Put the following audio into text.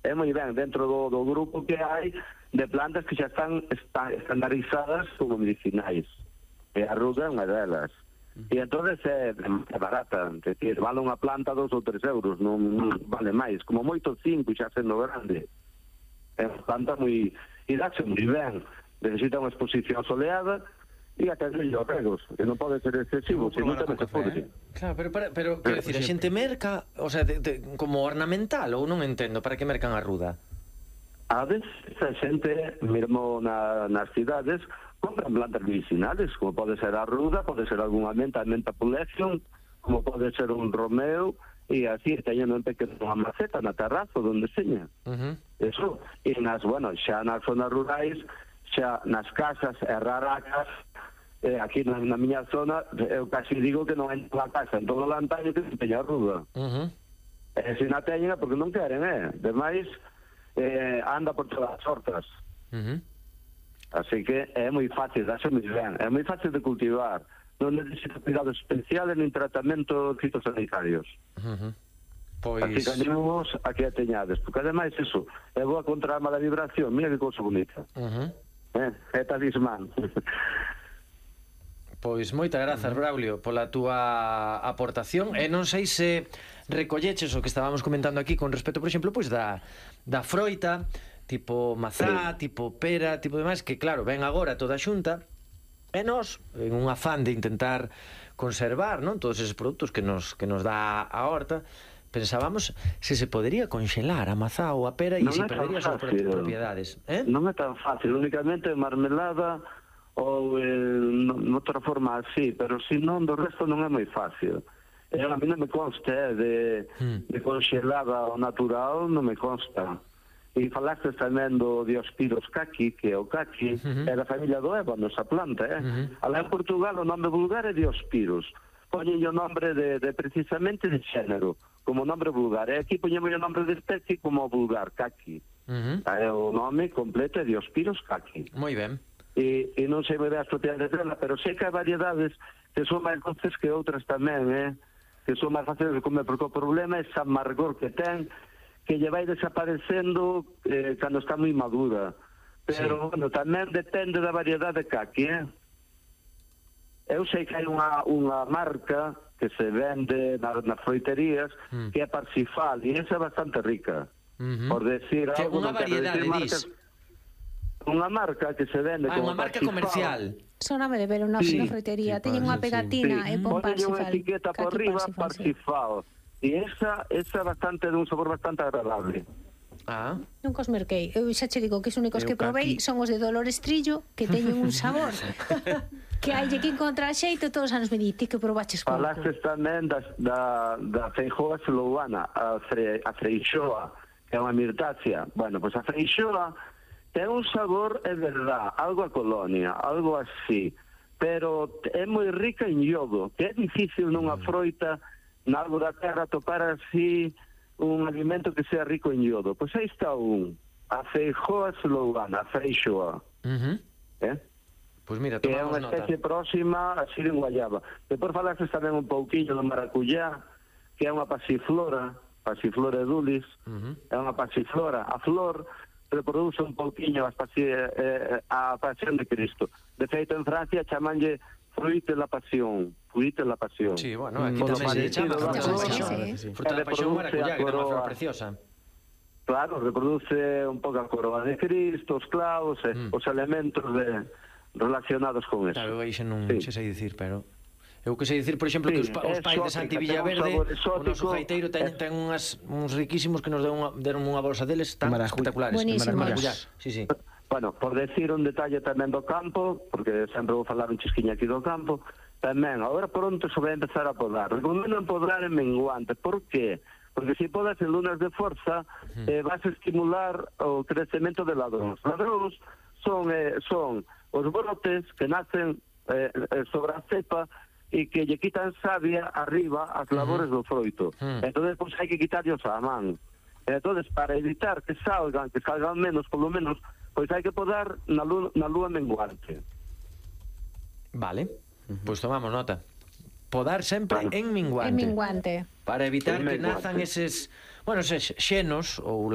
é moi ben dentro do grupo que hai de plantas que xa están estandarizadas como medicinais. E a ruda é unha delas. E entonces é barata, é dicir, vale unha planta 2 ou 3 euros, non vale máis, como moito 5 xa sendo grande. É unha planta moi... e dáse moi ben, necesita unha exposición soleada e até mellor regos, que non pode ser excesivo, se non tamén se pode. Claro, pero quero dicir, a xente merca, o sea, como ornamental, ou non entendo, para que mercan a ruda? A veces a xente, mesmo nas cidades, compran plantas medicinales, como pode ser a ruda, pode ser algunha menta collection, como pode ser un romeo, e así teñen un pequeno maceta na terraza onde seña. Eso, e xa nas zonas rurais, xa nas casas e raracas, aquí na miña zona, eu casi digo que non hai unha casa en todo o lantaño que se teña ruda. E se na teñen é porque non queren, demais anda por todas as hortas. Así que é moi fácil, dáse moi ben, é moi fácil de cultivar, non necesita cuidados especiales nin tratamento fitosanitarios. Así que animamos a que a teñades, porque ademais eso, é boa contra a mala vibración, mira que cousa bonita. É talismán. Pois moitas grazas, Braulio, pola túa aportación. E non sei se recolleches o que estábamos comentando aquí con respecto, por exemplo, pois da froita, tipo mazá, tipo pera, tipo demais, que claro, ven agora toda a xunta, e nós, en un afán de intentar conservar, non, todos eses produtos que nos dá a horta, pensábamos se se podería conxelar a mazá ou a pera e se perdería as súas propiedades. Non é tan fácil, únicamente marmelada ou noutra forma así, pero se non, do resto non é moi fácil. A mí non me consta de conxelada ao natural, non me consta. E falaste tamén do Diospyros caqui, que é o caqui, é da familia do ébano, esa planta, Alá en Portugal o nome vulgar é Diospyros. Poñen o nombre de precisamente de xénero, como nombre vulgar. E aquí poñemos o nombre de especie como vulgar, caqui. O nome completo é Diospyros caqui. Moi ben. E non sei moi ben as propiedades dela, pero sei que hai variedades que son máis doces que outras tamén, que son máis fáciles de comer, porque o problema é esa amargor que ten, que lle vai desaparecendo cando está moi madura. Pero, bueno, tamén depende da variedade de caqui, Eu sei que hai unha marca que se vende nas froiterías que é Parsifal, e esa é bastante rica. Por decir algo, unha variedade, dis? Unha marca que se vende como unha marca comercial. Soname de ver unha froitería, teñen unha pegatina e pon Parsifal. Unha etiqueta por riba, Parsifal. E esa é bastante, de un sabor bastante agradable. Nunca os merquei. Eu xa che digo que os únicos que provei son os de Dolores Trillo, que teñen un sabor que hai que encontrar xeito. Todos os anos me di, ti que probaches pouco. Falastes tamén da feijoa sloana, a freixoa, que é unha mirtácea. Bueno, pois a freixoa ten un sabor, é verdad, algo a colonia, algo así, pero é moi rica en iodo, que é difícil nunha froita, nalgo da terra, topar así un alimento que sea rico en iodo. Pois aí está a feijoa sloana, a freixoa. Pois mira, que é tomamos unha nota. especie próxima a Siren Guayaba. Depois falastes tamén un pouquinho do maracuyá, que é unha pasiflora edulis, é unha pasiflora. A flor reproduce un pouquinho a pasión de Cristo. De feito, en Francia chamanlle fruit de la pasión. Sí, bueno, aquí tamén se chama fruta da pasión. Fruta da pasión maracuyá, que é unha flor preciosa. Claro, reproduce un pouco a coroa de Cristo, os clavos, os elementos relacionados con eso. Claro, eu aí xa non sei dicir, pero eu que sei dicir, por exemplo, que os pais de Santi Villaverde, o noso gaiteiro ten uns riquísimos que nos deron unha bolsa deles tan espectaculares. Buenísimos. Sí. Bueno, por decir un detalle tamén do campo, porque sempre vou falar un chisquiña aquí do campo, tamén, agora pronto se vai empezar a podar. Recomendo podar en menguante. Por qué? Porque se podas en lunas de forza, vas a estimular o crecemento de ladróns. Ladróns son os brotes que nacen sobre a cepa e que lle quitan savia arriba as labores do froito. Entón, pois, hai que quitarlos a man. Entón, para evitar que salgan menos, polo menos, pois hai que podar na lúa menguante. Vale, pois tomamos nota. Podar sempre en minguante. En minguante. Para evitar que nazan eses, xenos ou